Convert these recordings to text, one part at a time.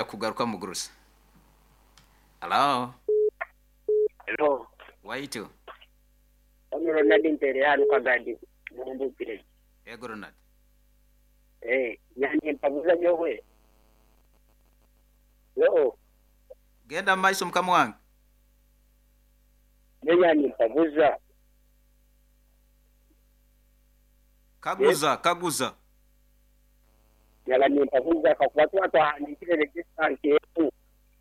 Kugaruka mugurusi. Halo, Hello. waitu. Hano Ronald Ntere hano Kagadi Muhumbu village. Ego Ronald. Eh, nyanye mpabuza nyowe. Hello. Genda mu maiso mukama wange. Nyanye mpabuza. Kaguza, kaguza. Nyaba nimpabuza kakuba tuba twahandikire register nkeetu.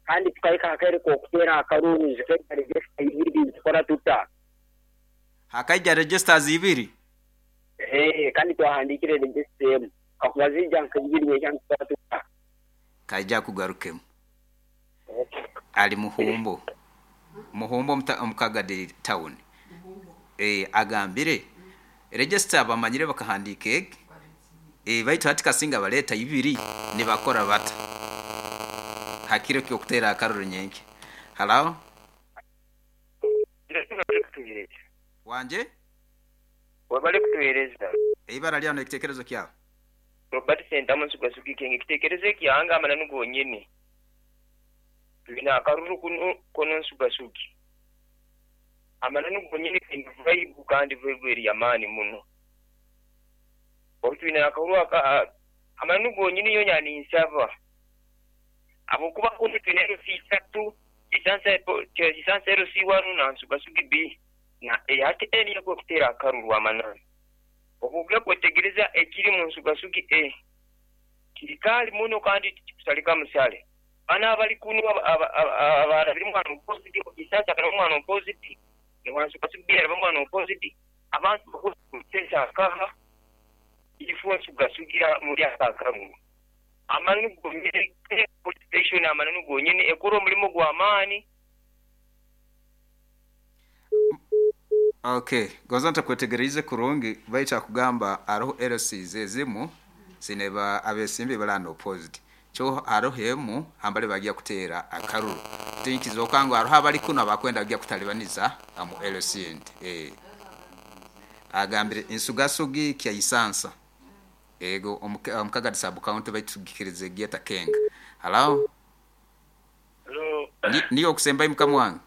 Kandi tukahika akaire k'okuteera akaruru zikaija register ibiri nitukora tuta? Hakaija registers ibiri. Eh, kandi twahandikire register emu. Kakuba zija nka ibiri nyenkya nitukora tuta? Kaija kugarukemu. Ali Muhumbo. Muhumbo omu Kagadi town. Eh, agambire register bamanyire bakahandiika egi. Eh, baitu hati kasinga baleeta ibiri nibakora bata. Hakiro ky'okuteera akaruru nyenkya. Halo, wanje? Webale kutuheereza. Eibara lyawe n'ekiteekerezo kyawe. Robert Sentamu Nsugasugi Kenge ekiteekerezo ekyange amananu gonyini. Twine akaruru kunu kono Nsugasugi. Amananu gonyini kaine vibe kandi vibe eri y'amaani muno. Obu twine akaruru aka amananu gonyini yo ninsaba. Habwokuba kunu twine LC isatu, Kisansa LC 1 na Nsugasugi B na A. Hati A niyo ekutera akaruru amananu. Obu kwetegereza ekiri mu Nsugasugi A kirikaali muno kandi tikikusalika musale. Bano abali kunu abarabire omwana opposite, Kisansa karaba omwana opposite, ne Nsugasugi B araba omwana opposite, abantu bakuteesa nkaha ifo Nsugasugi muri aka karuru. Amananu gonyine police station amananu gonyine ekora omurimo gw'amaani. Okay, gonza ntakwetegerize kurungi baitu akugamba aroho LCs ezimu zineba abesimbi balana opposite. Kyo aroho emu ambale bagiya kuteera akaruru. Tinkizoka ngu aroho abali kuno abakwenda bagiya kutalibaniza amu LC ndi. Eh. Agambire Nsugasugi kya Isansa. Ego omukagadi sub county baitu gikirize gieta kenga. Hello? Hello. Niyo okusemba mukama wange.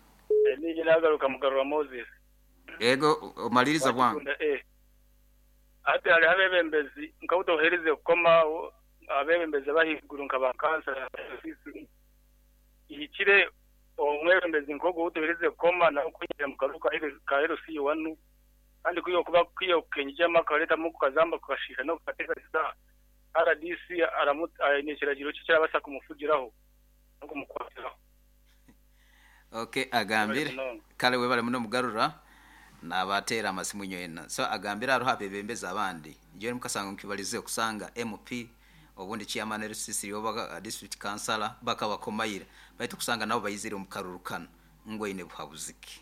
Nije nagaruka Mugarura Moses. Ego omaliriza bwangu. Ati hariho abebembezi nk'abu kukoma abebembezi abahiguru nka ba kansala ihikire omwebembezi nk'ogwo utuherize kukoma nawe kwinjira mu karuka ka LC wanu kandi kuyo kuba kuyo kenjama kaletamu kukazamba kukashika no kukateekaniza RDC aine ekiragiro kye kirabasa kumufugiraho no kumukwatiraho. Okay, agambire kale webale muno Mugarura nabateera amasimu nywena. So agambire aroho abebembezi abandi njewe mukasanga nkibalize okusanga MP obundi chairman LCC oba district councilor bakabakomayira baitu kusanga nabo bayizire omu karuru kano ngwaine buhabuziki.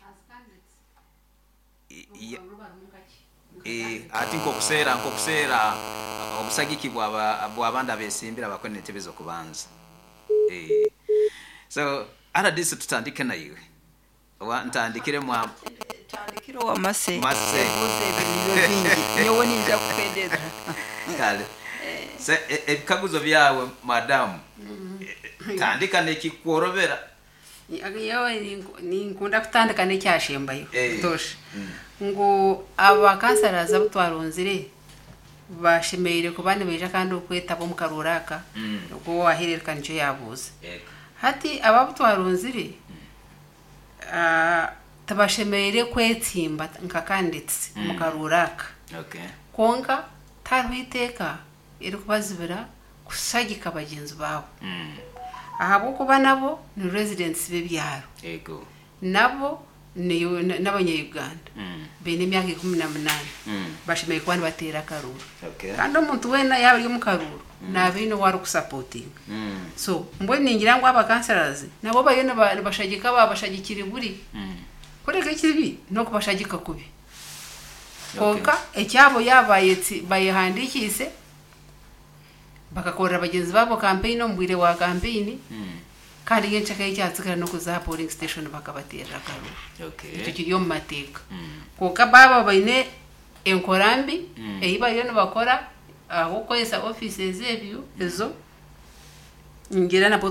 Ati nkokuseera obusagiki bwabandi abesimbira bakone entebe z'okubanza. So RDC tutandike naiwe. Wa ntandikire mwa tandikire wa mase. Mase. Ebibuzo ebyo nibyo bingi. Nyowe ninja kukendeza. Kale. Se ebikaguzo byawe madamu. Tandika nekikworobera. Nyowe ninkunda kutandika n'ekyashembayo. Tosha. Ngu abakansalazi abu twarunzire bashemereire kuba nibaija kandi okwetaba omu karuru aka ogwo wahereruka nikyo yabuuza. Hati aba abu twarunzire tibashemereire kwetsimba nka candidates omu karuru aka. Kwonka tihariho iteeka erikubazibira kushagika bagyenzi baabo. Ahabw'okuba nabo ni residents b'ebyaro. Nabo n'abanya-Uganda. Baine emyaka 18. Bashemereire kuba nibateera akaruru. Kandi omuntu weena yaaba ari omu karuru naaba aine ou arikusapotinga. So mbwenu ningira ngu abakansalazi nabo bariyo nibashagika babashagikire buri. Kureka ekibi n'okubashagika kubi. Konka ekyabo yaaba bayehandikiise bakakorera bagyenzi baabo campaign omu bwire bwa campaign kandi nyenkya ekyatsigara n'okuza aha polling station bakabateerera akaruru. Ekyo kiri omu mateeka. Konka baaba baine enkora mbi ei bariyo nibakora ahabw'okukoresa offices ebyo ezo ngira nabwo